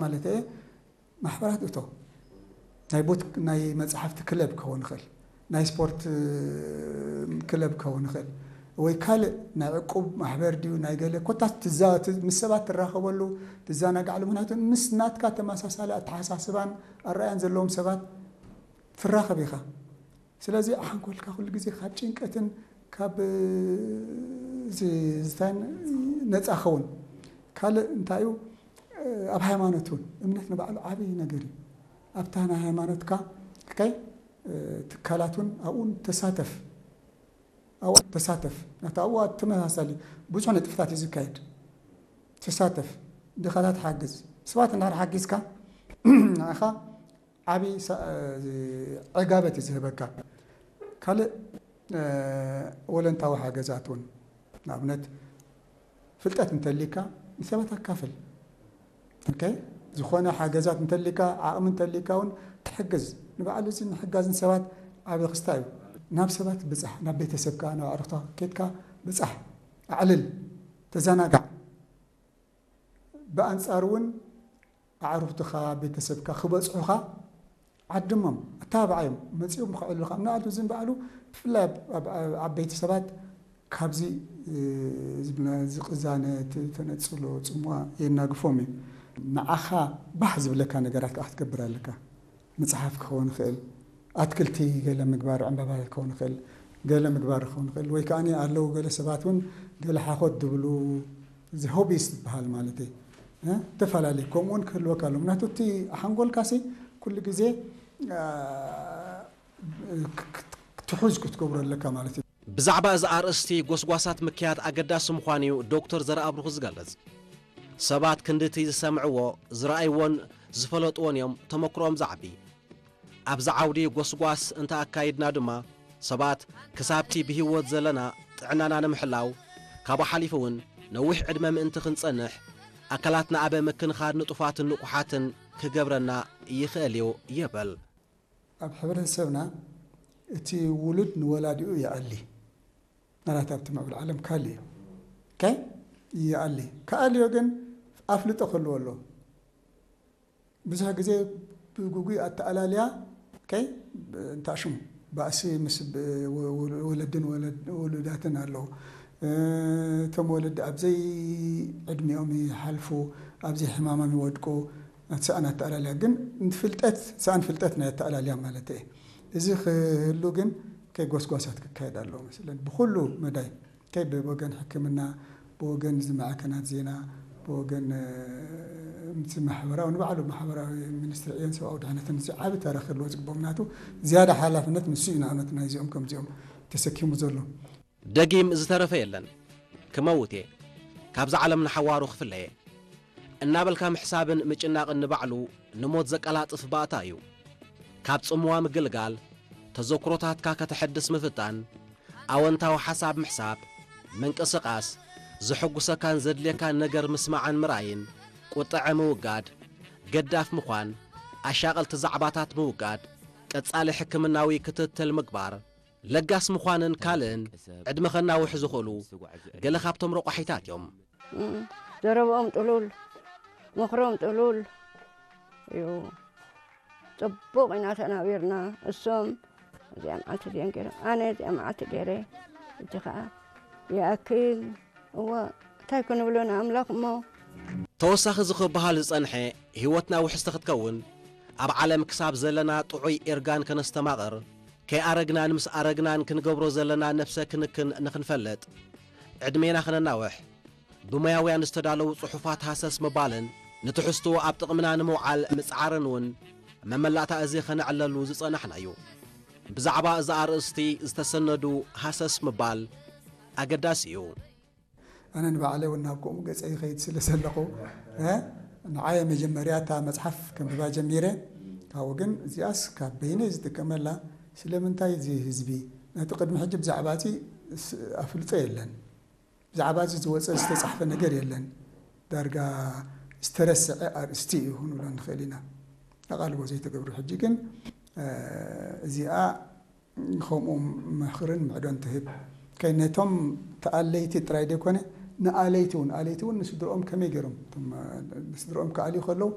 ማለት እየ። ማሕበራት እቶ ናይ ቡት ናይ መጽሓፍቲ ክለብ ክኸውን ይኽእል፣ ናይ ስፖርት ክለብ ክኸውን ይኽእል፣ ወይ ካልእ ናይ ዕቁብ ማሕበር ድዩ ናይ ገለ ኮታስ ትዛ- ት- ምስ ሰባት ትራኸበሉ ትዘናጋዕሉ። ምክንያቱ ምስ ናትካ ተመሳሳሊ ኣተሓሳስባን ኣረኣያን ዘለዎም ሰባት ትራኸብ ኢኻ። ስለዚ ሓንኮልካ ኩሉ ግዜ ካብ ጭንቀትን ካብ ዝታን ነፃ ኸውን። ካልእ እንታይ እዩ? ኣብ ሃይማኖት እውን እምነት ንባዕሉ ዓብዪ ነገር እዩ። ኣብታ ናይ ሃይማኖትካ ከይ ትካላት እውን ኣብኡ ተሳተፍ። ኣብኡ ተሳተፍ ናታ ኣብኡ ተመሳሳሊ ብዙሕ ንጥፍታት እዩ ዝካየድ። ተሳተፍ፣ ድኻታት ሓግዝ። ሰባት እንድሕር ሓጊዝካ ንዓኻ ዓብዪ ዕጋበት እዩ ዝህበካ። ካልእ ወለንታዊ ሓገዛት እውን ንኣብነት ፍልጠት እንተሊካ ንሰባት ኣካፍል። ዝኾነ ሓገዛት እንተሊካ ዓቕሚ እንተሊካ እውን ትሕግዝ። ንባዕሉ እዚ ምሕጋዝ ንሰባት ዓብዪ ክስታ እዩ። ናብ ሰባት ብፃሕ፣ ናብ ቤተሰብካ ናብ ኣዕሩኽታ ኬድካ ብፃሕ፣ ኣዕልል፣ ተዘናጋዕ። ብኣንፃር እውን ኣዕሩኽትኻ ቤተሰብካ ክበፅሑኻ ዓድሞም ኣተባብዓዮም። መፂኦም ከዕልሉኻ ምናልባት እዚ ንባዕሉ ብፍላይ ዓበይቲ ሰባት ካብዚ ዝብና ዝቕዛነ ተነፅሎ ፅምዋ የናግፎም እዩ። ንዓኻ ባህ ዝብለካ ነገራት ከዓ ክትገብር ኣለካ። መፅሓፍ ክኸውን ይኽእል፣ ኣትክልቲ ገለ ምግባር፣ ዕምበባታት ክኸውን ይኽእል፣ ገለ ምግባር ክኸውን ይኽእል። ወይ ከዓ ኣለዉ ገለ ሰባት እውን ገለ ሓኾት ዝብሉ እዚ ሆቢስ ዝበሃል ማለት እዩ። ተፈላለዩ ከምኡ እውን ክህልወካ ኣሎ። ምክንያቱ እቲ ሓንጎልካሲ ኩሉ ግዜ ትሑዝ ክትገብሮ ኣለካ ማለት እዩ። ብዛዕባ እዚ ኣርእስቲ ጎስጓሳት ምክያድ ኣገዳሲ ምዃኑ እዩ ዶክተር ዘርኣብሩኽ ዝገልጽ። ሰባት ክንድቲ ዝሰምዕዎ፣ ዝረኣይዎን ዝፈለጥዎን እዮም ተመክሮኦም ዝዓቢ። ኣብዚ ዓውዲ ጎስጓስ እንተ ኣካይድና ድማ፣ ሰባት ክሳብቲ ብህይወት ዘለና ጥዕናና ንምሕላው፣ ካብኡ ሓሊፉ እውን ነዊሕ ዕድመ ምእንቲ ክንጸንሕ፣ ኣካላትና ኣብ ምክንኻን ንጡፋትን ንቑሓትን ክገብረና ይኽእል እዩ ይብል። ኣብ ሕብረተሰብና እቲ ውሉድ ንወላዲኡ ይኣሊ። ናላት ኣብቲ ምዕብል ዓለም ካል እዩ። ከይ ይኣሊ። ክኣልዮ ግን ኣፍልጦ ክህልዎ ኣለዎ። ብዙሕ ግዜ ብጉጉይ ኣተኣላልያ ከይ እንታይ ሽሙ ባእሲ ምስ ወለድን ውሉዳትን ኣለዉ። እቶም ወለዲ ኣብዘይ ዕድሚኦም ይሓልፉ፣ ኣብዘይ ሕማሞም ይወድቁ። እቲ ሰኣን ኣተኣላልያ ግን ፍልጠት ሰኣን ፍልጠት ናይ ኣተኣላልያ ማለት እየ። እዚ ክህሉ ግን ከይ ጎስጓሳት ክካየድ ኣለዎ መስለን ብኩሉ መዳይ ከይ ብወገን ሕክምና ብወገን እዚ ማዕከናት ዜና ብወገን እቲ ማሕበራዊ ንባዕሉ ማሕበራዊ ሚኒስትሪ ዕዮን ሰብኣዊ ድሕነትን እዚ ዓቢ ተራ ክህልዎ ዝግቦ ምክንያቱ ዝያዳ ሓላፍነት ንሱ እዩ ንኣብነት ናይዚኦም ከምዚኦም ተሰኪሙ ዘሎ። ደጊም ዝተረፈ የለን። ክመውት እየ። ካብዛ ዓለም ንሓዋሩ ክፍለ እየ። እናበልካ ምሕሳብን ምጭናቕን ንባዕሉ ንሞት ዘቀላጥፍ ባእታ እዩ። ካብ ጽምዋ ምግልጋል፣ ተዘክሮታትካ ከተሐድስ ምፍታን፣ ኣወንታዊ ሓሳብ ምሕሳብ፣ ምንቅስቓስ፣ ዘሐጉሰካን ዘድልየካን ነገር ምስማዕን ምርኣይን፣ ቁጠዐ ምውጋድ፣ ገዳፍ ምዃን፣ ኣሻቐልቲ ዛዕባታት ምውጋድ፣ ቀጻሊ ሕክምናዊ ክትትል ምግባር፣ ለጋስ ምዃንን ካልእን ዕድመ ከናውሑ ዝኽእሉ ገለ ካብቶም ረቋሒታት እዮም። ዘረብኦም ጥሉል፣ ምኽሮም ጥሉል እዩ። ጽቡቕ ኢና ተናቢርና። እሶም እዚኣ መዓልቲ እዚአን ገይረ፣ ኣነ እዚኣ መዓልቲ ገይረ፣ እቲ ኸዓ ይኣክል። እወ እንታይ ክንብሎ ንኣምላኽ እሞ። ተወሳኺ እዚ ክበሃል ዝጸንሐ፣ ህይወትና ውሕስቲ ክትከውን፣ ኣብ ዓለም ክሳብ ዘለና ጥዑይ ኢርጋን ከነስተማቕር፣ ከይኣረግናን ምስ ኣረግናን ክንገብሮ ዘለና ነብሰ ክንክን ንኽንፈልጥ፣ ዕድሜና ከነናውሕ፣ ብሞያውያን ዝተዳለዉ ጽሑፋት ሃሰስ ምባልን ንትሕዝትኡ ኣብ ጥቕምና ንምውዓል ምጽዓርን እውን መመላእታ እዚ ከነዕለሉ ዝጸናሕና እዩ። ብዛዕባ እዚ ኣርእስቲ ዝተሰነዱ ሃሰስ ምባል ኣገዳሲ እዩ። ኣነ ንባዕለይ እውን ናብ ከምኡ ገጸ ይኸይድ ስለ ዘለኹ ንዓየ መጀመርያ እታ መጽሓፍ ከንብባ ጀሚረ። ካብኡ ግን እዚኣስ ካብ በይነይ ዝጥቀመላ ስለምንታይ እዚ ህዝቢ ነቲ ቅድሚ ሕጂ ብዛዕባ እዚ ኣፍልጦ የለን። ብዛዕባ እዚ ዝወፀ ዝተፃሕፈ ነገር የለን። ዳርጋ ዝተረስዐ ኣርእስቲ እዩ ክንብሎ ንኽእል ኢና። ኣቓልቦ ዘይተገብሩ። ሕጂ ግን እዚኣ ከምኡ ምኽርን ምዕዶን ትህብ። ከይ ነቶም ተኣለይቲ ጥራይ ዘይኮነ ንኣለይቲ እውን፣ ኣለይቲ እውን ንስድርኦም ከመይ ገይሮም፣ ንስድርኦም ክኣልዩ ከለዉ